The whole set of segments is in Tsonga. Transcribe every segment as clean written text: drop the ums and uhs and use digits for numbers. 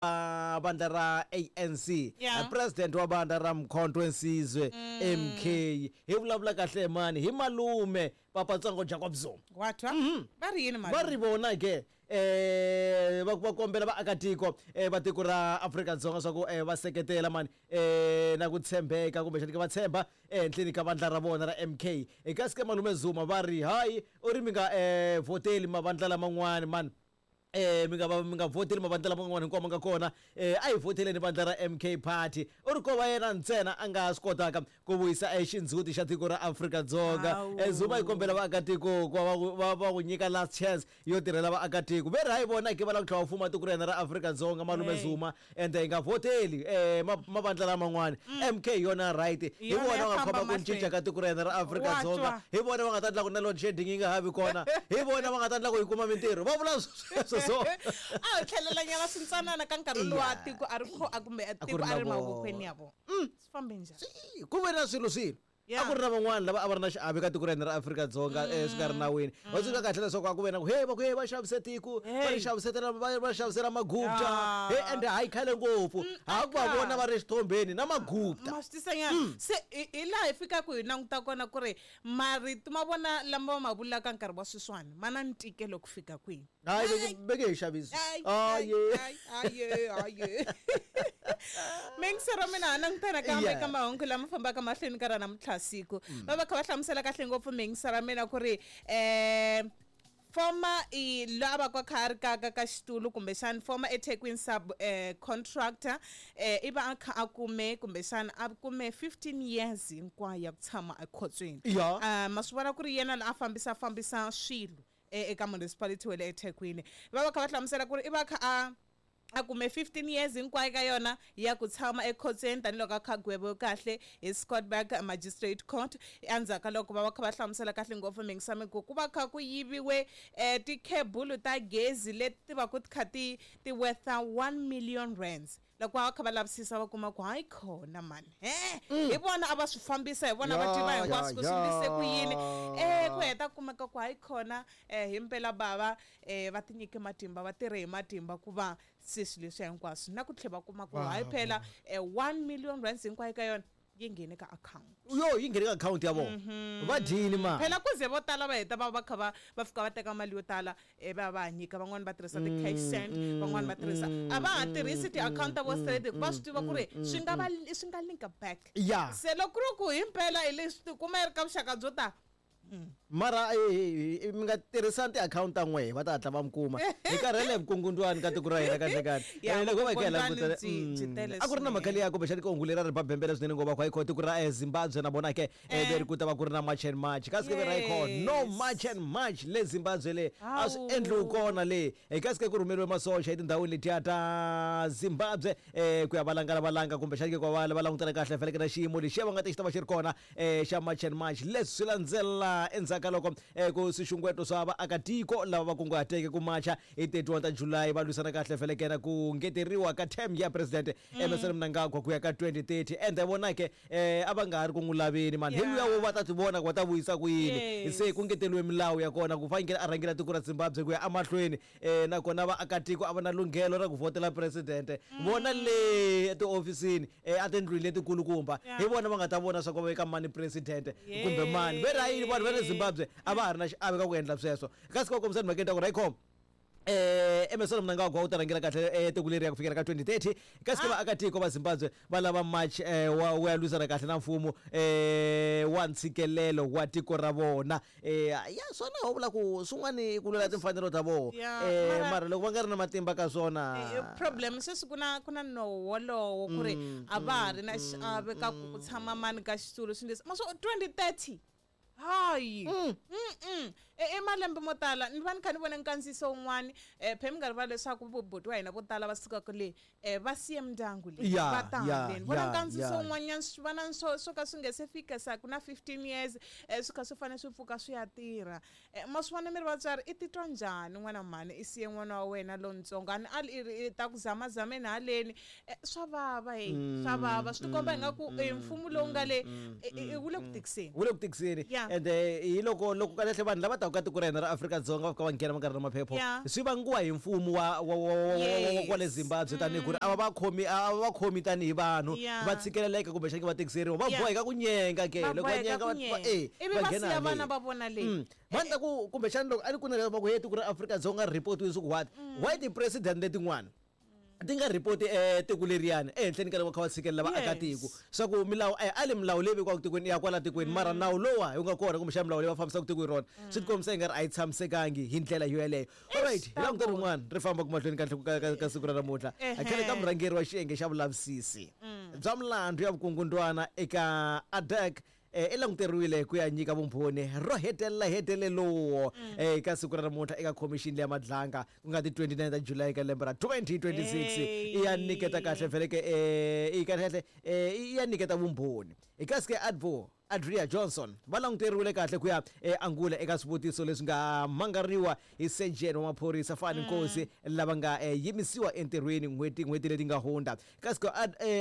Vandla ra ANC. President wa vandla ra Mkhonto Wensizwe MK, hi vulavula kahle mani hi malume Papatsongo Jacob Zuma. Wa twa? Va ri yini malume? Va ri vona ke va kombela vaakatiko va tiko ra Afrika-Dzonga swa ku va seketela mani na ku tshembeka kumbexani ke va tshemba ehenhleni ka vandla ra vona ra MK. Kasi ke malume Zuma va ri hayi, u ri mi nga vhoteli mavandla laman'wani mani, mi nga va mi nga vhoteli mavandla lama man'wana hinkwawo ma nga kona, a hi vhoteleni vandla ra MK Party. U ri ko va yena ntsena a nga swi kotaka ku vuyisa xindzhuti xa tiko ra Afrika-Dzonga. Zuma yi kombela vaakatiko ku va va va n'wi nyika last chance yo tirhela vaakatiko. Ve ri hayi vona ke va lava ku tlhela va fuma tiko ra hina ra Afrika-Dzonga malume Zuma, ende hi nga vhoteli mavandla laman'wana. MK hi yona right, hi vona va nga khoma ku cinca ka tiko ra hina ra Afrika-Dzonga, hi vona va nga ta endla ku na load shedding yi nga ha vi kona, hi vona va nga ta endla ku hi kuma mintirho. Va vula sweswo so. A hi tlhelela nyana swintsanana ka nkarhi lowa tiko a ri kho a kumbe tiko a ri mavokweni ya vona. Swi fambe njhani? Ku ve na swilo swilo. A ku ri na van'wana lava a va ri na xiave ka tiko ra hina ra Afrika-Dzonga swi nga ri nawini. Va tsundzuka kahle leswaku a ku ve na ku he va ku he va xavise tiko, va ri xavisetela va xavisela Magupta. He ende hayi khale ngopfu ha ku va vona va ri exithombeni na Magupta. Ma swi tisa nyana. Se hi laha hi fikaka hi languta kona ku ri marito ma vona lama va ma vulaka nkarhi wa sweswiwani ma na ntikelo ku fika kwihi. Hayi ve nge he xavisi. Hayi. Mingisero mina ha langutana kambe ka mahungu lama fambaka mahlweni ka ra namuntlha siku. Va va kha va hlamusela kahle ngopfu mingisero mina ku ri former i loyi a va ka kha a ri ka ka ka xitulu kumbexana former eThekwini sub contractor i va a kha a kume kumbexana a kume 15 years hinkwayo ya ku tshama ekhotsweni. Ma swi vona ku ri yena la a fambisa fambisa swilo eka municipality wa le eThekwini. Va va kha va hlamusela ku ri i va kha a a kume 15 years hinkwayo ka yona ya ku tshama ekhotsweni tanihiloko a kha gweviwe kahle hi Scottburgh Magistrate Court endzhaku ka loko va va kha va hlamusela kahle ngopfu mingisami ku ku va kha ku yiviwe tikhebulu ta gezi leti ti va ku ti kha ti ti worth 1 million rands. Loko va kha va lavisisa va kuma ku hayi khona mani, he hi vona a va swi fambisa, hi vona va tiva hinkwaswo ku swi ndlise ku yini. Ku heta ku kumeka ku hayi khona, himpela bava va tinyike matimba, va tirhe hi matimba ku va se swilo leswiya hinkwaswo, na ku tlhela va kuma ku hayi phela 1 million rands hinkwayo ka yona yi nghene ka akhawunti. Yo, yi nghene ka akhawunti ya vona. Va dyini mali. Phela ku ze vo tala va heta va va kha va va fika va teka mali yo tala va ya va ya nyika, van'wani va tirhisa ti-cash send, van'wani va tirhisa, a va ha tirhisi ti-akhawunti ta vo straight hikuva va swi tiva ku ri swi nga va swi nga linka back. Se loko ku ri ku himpela hi leswi tikuma yi ri ka vuxaka byo ta. Mara mi nga tirhisani tiakhawunti ta n'wehe, va ta hatla va mi kuma. Hi karhele hi vukungundzwani ka tiko ra hina kahle kahle. Loko va hi kha hi langutela, a ku ri na mhaka liya kumbexani ka hungu leri a ri ba bembele swinene ngopfu, a ku hayi tiko ra Zimbabwe na vona ke ve ri ku ta va ku ri na March and March, kasi ke ve ri hayi no March and March le Zimbabwe le a swi endliwi kona le. Kasi ke ku rhumeriwe masocha etindhawini letiya ta Zimbabwe ku ya valangala valanga kumbexani ke ku va va langutana kahle faneleke na xiyimo lexiya va nga ta xi ta va xi ri kona xa March and March. Leswi swi landzela endzhaku ka loko ku swixungeto swa vaakatiko lava va kunguhateke ku macha hi 31 ta July va lwisana kahle felekena ku ngeteriwa ka term ya President Emmerson Mnangagwa ku ya ka 2030. Ende vona ke a va nga ha ri ku n'wi laveni mani, hi luya wo va ta tivona ku va ta vuyisa ku yini. Se ku ngeteriwe milawu ya kona ku fanekele a rhangela tiko ra Zimbabwe ku ya emahlweni, nakona vaakatiko a va na lunghelo ra ku vhotela presidente. Vona le etihofisini, etindlwini letikulukumba, hi vona va nga ta vona swa ku va veka mani presidente kumbe mani. Ve ri ha yini vanhu va le Zimbabwe a va ha ri na xiave ka ku endla sweswo? Kasi va kombisa timhakeni ta ku ri hayikhoma, Emmerson Mnangagwa u ta rhangela kahle tiko leriya ku fikela ka 2030. Kasi ke vaakatiko va Zimbabwe va lava March wa wu ya lwisana kahle na mfumo wa ntshikelelo wa tiko ra vona. Ya swona ho vula ku swin'wana i ku lwela timfanelo ta vona, mara loko va nga ri na matimba ka swona. Problem sweswi ku na ku na nowo wolowo ku ri a va ha ri na xiave ka ku ku tshama mani ka xitulu swilo leswi ma swo 2030. Hayi. I malembe mo tala ni va ni kha ni vona nkandziyiso wun'wani, phe mi nga rivali leswaku buti wa hina vo tala va sukaka le va siye mindyangu leyi va ta haleni. Vona nkandziyiso wun'wanyana swi va na swo swo ka swi nga se fika sa ku na 15 years, swi kha swi fanele swi pfuka swi ya tirha. Ma swi vona mi ri vatswari i titwa njhani n'wana mhani i siye n'wana wa wena lontsongo, a ni ali i ri i ta ku zamazameni haleni, swa vava heyi, swa vava. Swi tikomba ingaku mfumo lowu nga le wu le ku tikiseni. Wu le ku tikiseni. Ende hi loko loko kahlekahle vanhu lava taka. ta ka tiko ra hina ra Afrika-Dzonga va fika va nghena va nga ri na maphepho Yeah. swi vangiwa hi mfumo wa wa wa wa wa wa kwale Yes. Zimbabwe tanihi ku ri a va va khomi a va va khomi tanihi vanhu Yeah. va tshikeleleka kumbexani va tikiseriwa va Yeah. boheka ku nyenga ke Va loko va boheka nyenga ku va va nyenga. eh Ivi va va nghena siya vana haleni. va vona le Va ni ta ku kumbexani loko a ni ku na va ku he tiko ra Afrika-Dzonga ri report-iwile swa ku what why ti-president letin'wana ti nga report tiko leriyani ehenhleni ka loko va kha va tshikelela vaakatiko Yes. swa ku milawu a a le milawu leyi vekiwaka tikweni ya kwala tikweni mara nawu lowa hi nga kona kumbexana milawu leyi va fambisaka tiko hi rona swi tikombisa i nga ri a yi tshamisekangi hi ndlela yo yeleyo alright hi languta rin'wana ri fambaka mahlweni ka ka ka ka siku ra namuntlha Ehe. khale ka murhangeri wa xiyenge xa vulavisisi bya milandzu ya vukungundwana eka ADAC i languteriwile ku ya nyika vumbhoni ro hetelela hetelelowo eka siku ra namuntlha eka khomixini leya madlanga ku nga ti 29 ta July ka lembe ra 2026 Hey. i ya nyiketa kahle vheleke i kahle kahle i ya nyiketa vumbhoni eka sike advo Adria Johnson va languteriwile kahle ku ya angula eka swivutiso leswi nga mangariwa hi surgeon wa maphorisa Fani Nkosi lava nga yimisiwa entirhweni n'hweti n'hweti leti nga hundza kasi ku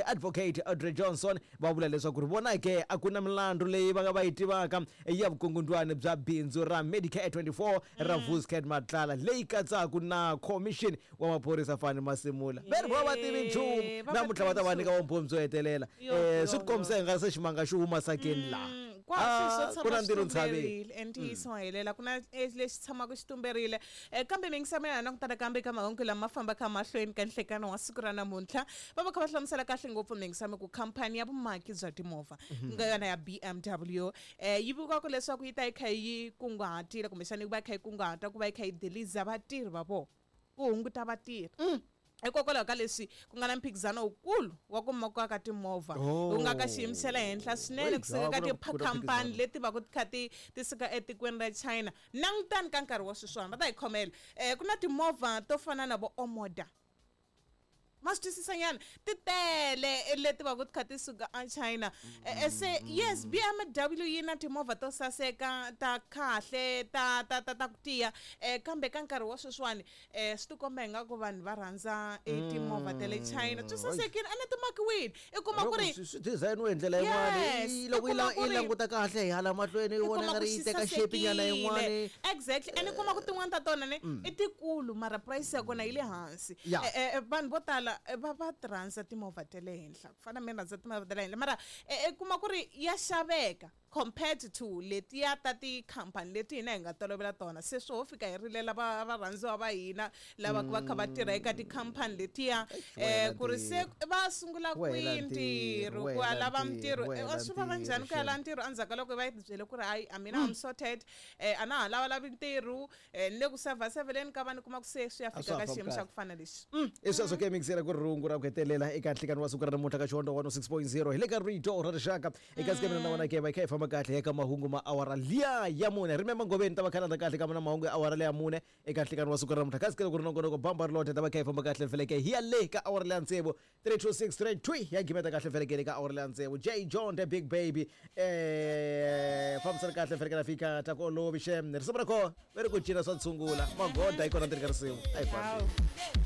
advocate Audrey Johnson va vula leswaku ri vona ke a ku na milandzu leyi va nga va yi tivaka ya vukungundwani bya bindzu ra Medicare 24 ra Vuscat Matlala leyi katsaka na commission wa maphorisa Fani Masimula va ri va va tivi nchumu Eh, va va namuntlha va ta va tivi nyika vumbhoni byo hetelela Yo, swi yo, tikombisa hi nga se ximanga xi huma sakeni laha Kwa swilo swo Ah, tshama ku na swi ntirho ntshaveni tumberile ntiyiso wa helela ku na lexi tshamaka xi tumberile kambe mingisamo ya langutana kambe ka mahungu lama fambaka mahlweni ka nhlekano wa siku ra namuntlha va va kha va hlamusela kahle ngopfu mingisamo ku khampani ya vumaki bya timovha ku nga yona ya BMW yi vikiwaka leswaku yi ta yi kha yi kunguhatile kumbexana yi va yi kha yi kunguhata ku va yi kha yi diliza vatirhi va vona ku hunguta vatirhi hikokwalaho ka leswi ku nga na mphikizano wukulu wa ku makiwa ka timovha Oh. wu nga ka xiyimo xa le henhla swinene Ey, kusuka ka ku na- ku na tikhampani mphikizano. leti va ku ti kha ti ti suka etikweni ra China langutani ka nkarhi wa sweswiwani va ta hi khomela ku na timovha to fana na vo Omoda ma swi twisisa nyana ti tele leti va ku ti kha ti suka a China se yes BMW yi na timovha to saseka ta kahle ta ta ta ta ku tiya kambe ka nkarhi wa sweswiwani swi tikomba ingaku vanhu va rhandza timovha ta le China swi sasekile a na ti makiwile i kuma ku ri Loko swi design-iwe hi ndlela yin'wani Yes, i i loko yi kuma ku yi ri- languta kahle hi hala mahlweni yi i vona kuma nga ku ri yi xi teka shape nyana sasekile yin'wani exactly and i kuma ku tin'wani ta tona ne i tikulu mara price ya kona yi le hansi Ya. Vanhu vo tala va va ti rhandza timovha ta le henhla ku fana na mina rhandza timovha ta le henhla mara i kuma ku ri ya xaveka compared to letiya ta tikhampani leti hina hi nga tolovela tona se swo ho fika hi rilela va varhandziwa va hina lava va kha va tirha eka tikhampani letiya Wa hela ku ri se ntirho. va sungula Wa hela kwihi ntirho, ntirho wa ku ya hela lava ntirho, mintirho wa hela swi vava njhani ku ya ntirho, lava ntirho endzhaku ka loko va yi byele ku ri hayi a mina I'm sorted a na ha lavalavi ntirho ni le ku sevhaseveleni ka vanhu kuma ku se swi ya A fika swa ha ka fambi xiyimo xa kahle. ku fana lexi i sweswo ke mixera ku ri rungu ra ku hetelela eka nhlikani wa siku ra namuntlha ka xihondzo 106.0 hi le ka rito ra rixaka eka siku mina na wena ke va hi kha hi famba kahle eka mahungu ma awara liya ya mune remember ngoveni ta va kha landa kahle ka na mahungu ya awara leya mune eka nhlikani wa siku ra namuntlha kasi ke loko ri nongonoko bamba ri lothe ta va kha hi famba kahle feleke hi ya le ka awara leya tsevu 32632 ya gimeta kahle feleke ka awara leya tsevu J John the big baby fambisana kahle feleke na fika ta ku olovi xem risimu ra koho va ri ku cina swa tshungula magoda yi kona ndzeni ka risimu a hi fambi Hawu.